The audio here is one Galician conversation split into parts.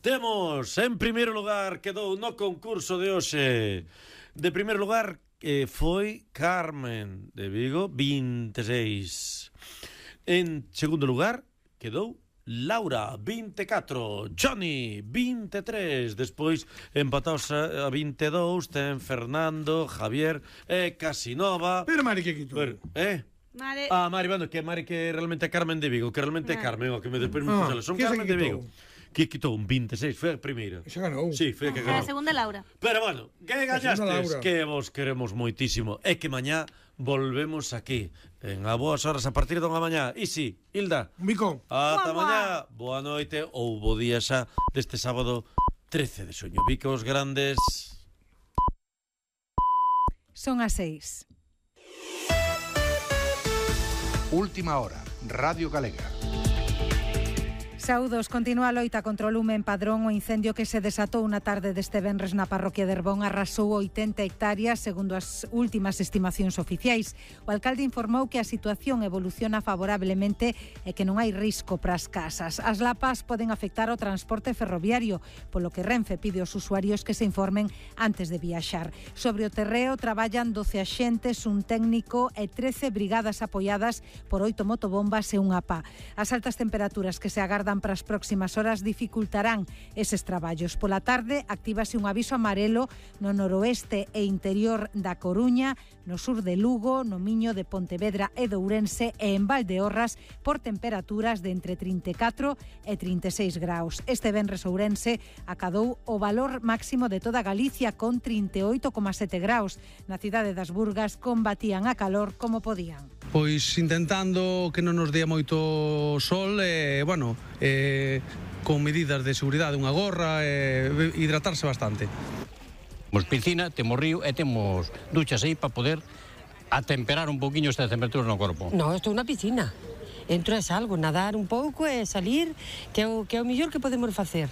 Temos, en primeiro lugar, quedou no concurso de hoxe. De primeiro lugar foi Carmen de Vigo, 26. En segundo lugar quedou Laura, 24. Johnny, 23. Despois empataos a 22. Ten Fernando, Javier e Casinova. Pero Mari que quitou. Mari. Mari, bueno, que Mari que realmente é Carmen de Vigo, que realmente é Carmen, o que me despois me puxala. Son Carmen de Vigo. Que quitou un 26, foi a primeira. Xa ganou. Sí, foi a que ganou. A segunda Laura. Pero bueno, que gallastes, que vos queremos moitísimo. É que mañá volvemos aquí, en a boas horas a partir dunha mañá. E si, Hilda. Un bico. Ata mañá, boa noite ou bo día xa deste sábado 13 de xuño. Bicos grandes. Son as 6. Última hora, Radio Galega. Saúdos, continúa a loita contra o lume en Padrón. O incendio que se desatou na tarde deste venres na parroquia de Herbón arrasou 80 hectáreas, segundo as últimas estimacións oficiais. O alcalde informou que a situación evoluciona favorablemente e que non hai risco para as casas. As lapas poden afectar o transporte ferroviario, polo que Renfe pide aos usuarios que se informen antes de viaxar. Sobre o terreo traballan 12 axentes, un técnico e 13 brigadas apoiadas por 8 motobombas e unha pá. As altas temperaturas que se agardan para as próximas horas dificultarán eses traballos. Pola tarde actívase un aviso amarelo no noroeste e interior da Coruña, no sur de Lugo, no Miño de Pontevedra e de Ourense e en Valdeorras por temperaturas de entre 34 e 36 graus. Este venres Ourense acadou o valor máximo de toda Galicia con 38,7 graus. Na cidade das Burgas combatían a calor como podían. Pois intentando que non nos dea moito sol e, con medidas de seguridade, unha gorra e hidratarse bastante. Temos piscina, temos río e temos duchas aí para poder atemperar un poquinho esta temperatura no corpo. No, isto é unha piscina. Entro e salgo, nadar un pouco e salir, que é o mellor que podemos facer.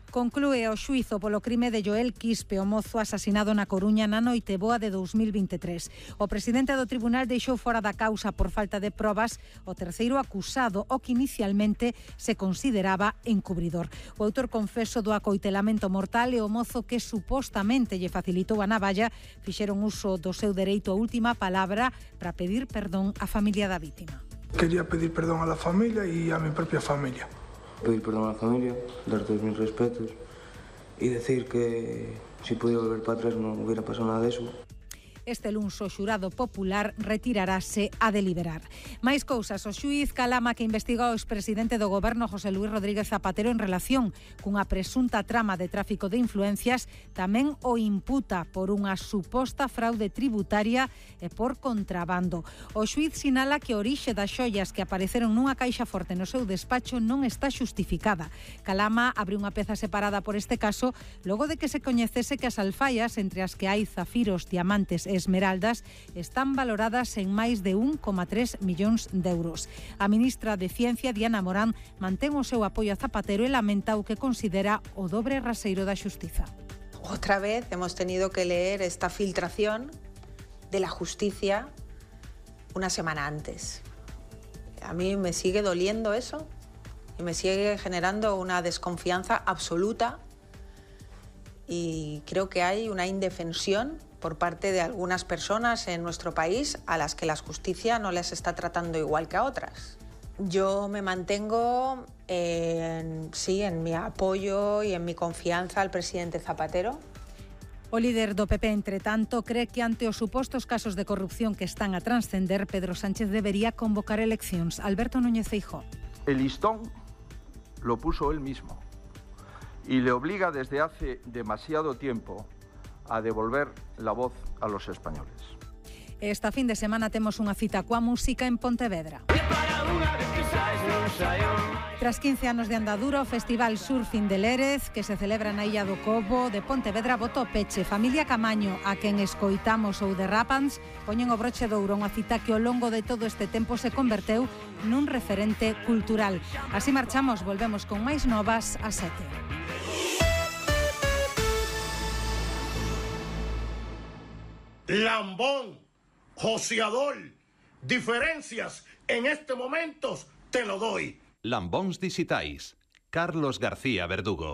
Conclúe o xuízo polo crime de Joel Quispe, o mozo asasinado na Coruña na Noiteboa de 2023. O presidente do tribunal deixou fora da causa por falta de probas o terceiro acusado, o que inicialmente se consideraba encubridor. O autor confeso do acoitelamento mortal e o mozo que supostamente lle facilitou a navalla fixeron uso do seu dereito a última palabra para pedir perdón á familia da vítima. Quería pedir perdón a la familia y a mi propia familia. Pedir perdón a la familia, dar todos mis respetos y decir que si pudiera volver para atrás no hubiera pasado nada de eso. Este luns o xurado popular retirarase a deliberar. Mais cousas, o xuíz Calama que investiga o expresidente do goberno José Luís Rodríguez Zapatero en relación cunha presunta trama de tráfico de influencias tamén o imputa por unha suposta fraude tributaria e por contrabando. O xuíz sinala que a orixe das xoias que apareceron nunha caixa forte no seu despacho non está xustificada. Calama abre unha peza separada por este caso logo de que se coñecese que as alfaias, entre as que hai zafiros, diamantes e esmeraldas, están valoradas en máis de 1,3 millóns de euros. A ministra de Ciencia, Diana Morán, mantén o seu apoio a Zapatero e lamenta o que considera o dobre raseiro da xustiza. Otra vez hemos tenido que leer esta filtración de la justicia una semana antes. A mí me sigue doliendo eso y me sigue generando una desconfianza absoluta y creo que hay una indefensión por parte de algunas personas en nuestro país a las que la justicia no les está tratando igual que a otras. Yo me mantengo en mi apoyo y en mi confianza al presidente Zapatero. O líder do PP, entre tanto, cree que ante os supostos casos de corrupción que están a transcender, Pedro Sánchez debería convocar eleccións. Alberto Núñez Feijóo. El listón lo puso él mismo y le obliga desde hace demasiado tiempo a devolver la voz a los españoles. Esta fin de semana temos unha cita coa música en Pontevedra. Tras 15 anos de andadura, o Festival Surfing de Lérez, que se celebra na Illa do Cobo de Pontevedra, botou peche. Familia Camaño, a quen escoitamos ou de Rapans, poñen o broche de ouro, unha cita que ao longo de todo este tempo se converteu nun referente cultural. Así marchamos, volvemos con máis novas a 7. Lambón, joseador, diferencias en este momento te lo doy. Lambóns dixitais, Carlos García Verdugo.